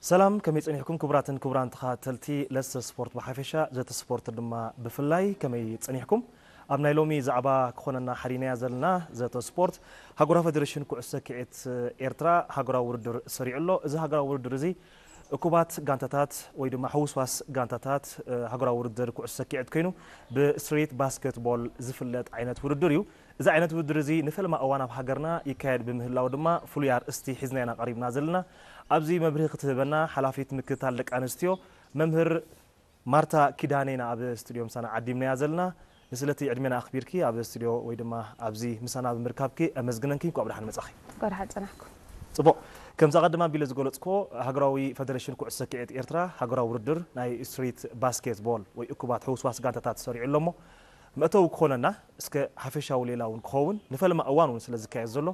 ሰላም፣ ከመይ ጸኒሕኩም ክቡራትን ክቡራን ተኸታተልቲ ለሰ ስፖርት ብሓፈሻ፣ ዘተ ስፖርት ድማ ብፍላይ፣ ከመይ ጸኒሕኩም? ኣብ ናይ ሎሚ ዛዕባ ክኾነና ሓዲናያ ዘለና ዘተ ስፖርት፣ ሃገራዊ ፌደሬሽን ኩዕሶ ሰኪዔት ኤርትራ ሃገራዊ ውድድር ሰሪዑ ኣሎ። እዚ ሃገራዊ ውድድር እዚ እኩባት ጋንታታት ወይ ድማ ሕውስዋስ ጋንታታት፣ እ፣ ሃገራዊ ውድድር ኩዕሶ ሰኪዔት ኮይኑ ብስትሪት ባስኬትቦል ዝፍለጥ ዓይነት ውድድር እዩ። እዚ ዓይነት ውድድር እዚ ንፈለማ እዋን ኣብ ሃገርና ይካየድ ብምህላው ድማ ፍሉይ ኣርእስቲ ሒዝና ኢና ቀሪብና ዘለና። ኣብዚ መብርሂ ክትህበና ሓላፊት ምክትታል ደቂ ኣንስትዮ መምህር ማርታ ኪዳነ ኢና ኣብ ስቱድዮ ምሳና ዓዲምናያ ዘለና። ንስለቲ ዕድሜና ኣኽቢርኪ ኣብ ስቱድዮ ወይ ድማ ኣብዚ ምሳና ብምርካብኪ ኣመስግነንኪ። እንኳዕ ብደሓን መጻኺ። እንኳዕ ደሓን ጸናሕኩም። ጽቡቕ። ከምዚ ኣቐድም ኣቢለ ዝገለጽክዎ፣ ሃገራዊ ፈደረሽን ኩዕሶ ሰኪዔት ኤርትራ ሃገራዊ ውድድር ናይ ስትሪት ባስኬትቦል ወይ እኩባት ሕውስዋስ ጋንታታት ሰሪዑ ኣሎ እሞ፣ መእተዊ ክኾነና፣ እስከ ሓፈሻዊ ሌላ እውን ክኸውን፣ ንፈለማ እዋን እውን ስለ ዝካየድ ዘሎ፣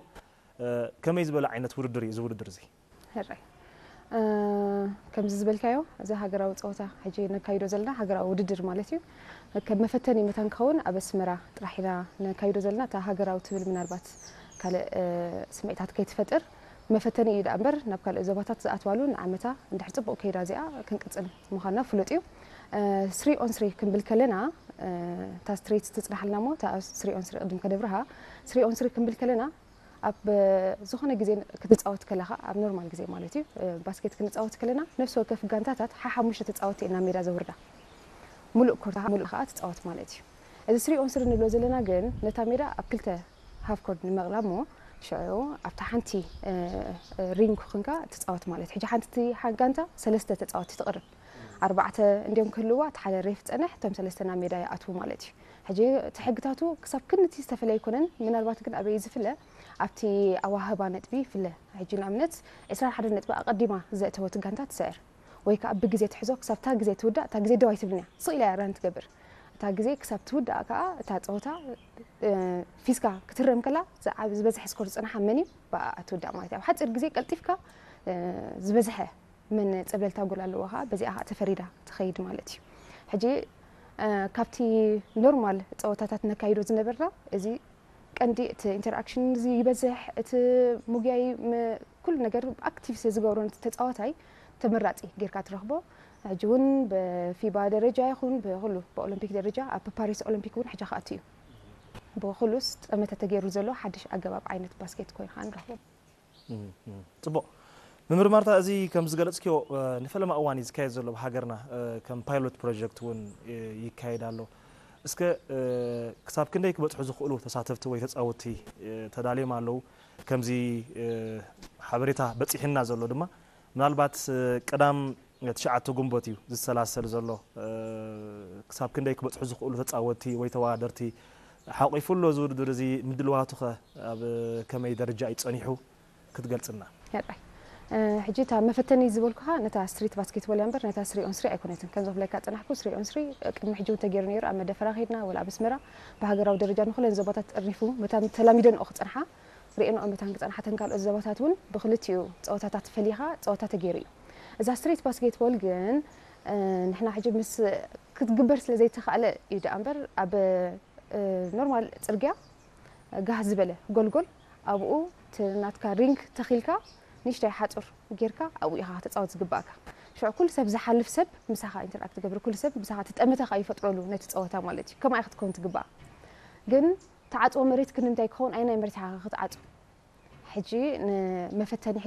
እ፣ ከመይ ዝበለ ዓይነት ውድድር እዩ እዚ ውድድር እዚ? ሕራይ። እ፣ ከምዚ ዝበልካዮ፣ እዚ ሃገራዊ ጸወታ፣ ሕጂ ነካይዶ ዘለና ሃገራዊ ውድድር ማለት እዩ። ከም መፈተኒ መታን ክኸውን ኣብ ኣስመራ ጥራሕ ኢና ነካይዶ ዘለና። እታ ሃገራዊ ትብል ምናልባት ካልእ፣ እ፣ ስምዒታት ከይትፈጥር መፈተኒ እዩ ደኣ እምበር፣ ናብ ካልእ ዞባታት ዝኣትዋሉ ንዓመታ እንድሕር ጽቡቕ ከይዳ እዚኣ ክንቅጽል ምዃንና ፍሉጥ እዩ። እ፣ ስሪ ኦን ስሪ ክንብል ከለና፣ እ፣ እታ ስትሬት ትጽናሓልና እሞ፣ እታ ስሪ ኦን ስሪ ቅድም ከነብርሃ፣ ስሪ ኦን ስሪ ክንብል ከለና፣ ኣብ ዝኾነ ግዜ ክትጻወት ከለኻ፣ ኣብ ኖርማል ግዜ ማለት እዩ፣ እ፣ ባስኬት ክንጻወት ከለና፣ ነፍሲ ወከፍ ጋንታታት ሓሓሙሽተ ተጻወትቲ ኢና ሜዳ ዘውርዳ። ሙሉእ ኮርት፣ ሙሉእ ከኣ ትጻወት ማለት እዩ። እዚ ስሪ ኦን ስሪ ንብሎ ዘለና ግን፣ ነታ ሜዳ ኣብ ክልተ ሃፍ ኮርት ንምቕላብ እሞ፣ ሽዑ ኣብታ ሓንቲ፣ እ፣ እ፣ ሪንግ ኮንካ ትጻወት ማለት እዩ። ሕጂ ሓንቲ ሓ-፣ ጋንታ ሰለስተ ተጻወትቲ ትቕርብ። ኣርባዕተ እንድዮም ክህልዋ፣ እቲ ሓደ ሬፍ ጸንሕ፣ እቶም ሰለስተ ናብ ሜዳ ይኣትዉ ማለት እዩ። ሕጂ እቲ ሕግታቱ ክሳብ ክንድቲ ዝተፈለየ ኣይኮነን፣ ምናልባት ግን ኣበይ ዝፍለ? ኣብቲ ኣዋህባ ነጥቢ ይፍለ። ሕጂ ንኣብነት ዕስራን ሓደን ነጥቢ ኣቐዲማ ዘእተወት ጋንታ ትስዕር። ወይ ከኣ ብግዜ ትሕዞ፣ ክሳብ እታ ግዜ ትውዳእ፣ እታ ግዜ ደው ኣይትብልን እያ። ስቕ ኢላ እያ ራን ትገብር። እታ ግዜ ክሳብ ትውዳእ ከኣ እታ ጸወታ፣ እ፣ ፊስካ ክትረም ከላ ዝዓብ-፣ ዝበዝሐ ስኮር ዝጸንሓ መን እዩ? ብኣ ትውዳእ ማለት እዩ። ኣብ ሓጺር ግዜ ቀልጢፍካ፣ እ፣ ዝበዝሐ መን ጸብለልታ ጎል ኣለዎ ከኣ በዚኣ ከኣ ተፈሪዳ ትኸይድ ማለት እዩ። ሕጂ፣ እ፣ ካብቲ ኖርማል ጸወታታት ነካይዶ ዝነበርና፣ እዚ ቀንዲ እቲ ኢንተርኣክሽን እዚ ይበዝሕ፣ እቲ ሙግያይ ም-፣ ኩሉ ነገር ኣክቲቭ ስለ ዝገብሮ ነቲ ተጻዋታይ ተመራጺ ጌርካ ትረኽቦ። ሕጂ እውን ብፊባ ደረጃ ይኹን ብኹሉ ብኦሎምፒክ ደረጃ ኣብ ፓሪስ ኦሎምፒክ እውን ሕጂ ክኣቱ እዩ። ብኹሉስ ጠመተ ተገይሩ ዘሎ ሓድሽ ኣገባብ ዓይነት ባስኬት ኮይኑ ከዓ ንረኽቦ። እም፣ እም። ጽቡቕ። መምህር ማርታ፣ እዚ ከም ዝገለጽክዮ፣ እ፣ ንፈለማ እዋን እዩ ዝካየድ ዘሎ ኣብ ሃገርና፣ እ፣ ከም ፓይሎት ፕሮጀክት እውን፣ እ፣ ይካየድ ኣሎ። እስከ፣ እ፣ ክሳብ ክንደይ ክበጽሑ ዝኽእሉ ተሳተፍቲ ወይ ተጻወትቲ፣ እ፣ ተዳልዮም ኣለዉ? ከምዚ፣ እ፣ ሓበሬታ በጺሕና ዘሎ ድማ፣ ምናልባት፣ እ፣ ቀዳም ትሽዓተ ግንቦት እዩ ዝሰላሰል ዘሎ። እ፣ ክሳብ ክንደይ ክበጽሑ ዝኽእሉ ተጻወትቲ ወይ ተወዳደርቲ ሓቑፉ ኣሎ እዚ ውድድር እዚ? ምድልዋቱ ኸ ኣብ ከመይ ደረጃ እዩ ጸኒሑ? ክትገልጽልና። ሕራይ። እ፣ ሕጂ እታ መፈተኒ ዝበልኩኻ ነታ ስትሪት ባስኬትቦል እያ እምበር ነታ ስሪ ኦን ስሪ ኣይኮነትን። ከምዚ ክብለካ ጸናሕኩ፣ ስሪ ኦን ስሪ ቅድሚ ሕጂ እውን ተገይሩ ነይሩ። ኣብ መደፈራ ከይድና ወላ ኣብ ኣስመራ ብሃገራዊ ደረጃ ንኹለን ዞባታት ጠርኒፉ መታን ተላሚደንኦ ክጸንሓ፣ ርእየንኦ መታን ክጸንሓ፣ እተን ካልኦት ዞባታት እውን ብክልቲኡ ጸወታታት ፈሊኻ ጸወታ ተገይሩ እዩ። እዛ ስትሪት ባስኬትቦል ግን፣ እ፣ ንሕና ሕጂ ምስ ክትግበር ስለ ዘይተኻእለ እዩ ደኣ እምበር ኣብ፣ እ፣ ኖርማል ጽርግያ ጋህ ዝበለ ጎልጎል ኣብኡ እቲ ናትካ ሪንግ ተኺልካ ንእሽተይ ሓጹር ጌርካ ኣብኡ ኢኻ ከተጻወት ዝግባእካ። ሽዑ ኩሉ ሰብ ዝሓልፍ ሰብ ምሳኻ ኢንተርኣክት ትገብር፣ ኩሉ ሰብ ምሳኻ እቲ ጠመተ ኸኣ ይፈጥረሉ ነቲ ጸወታ ማለት እዩ። ከምኣ ኢኻ ክትከውን ትግባእ። ግን ተዓጽዎ መሬት ክንዲ እንታይ ክኸውን፣ ኣየናይ መሬት ኢኻ ክትዓጹ? ሕጂ ንመፈተኒ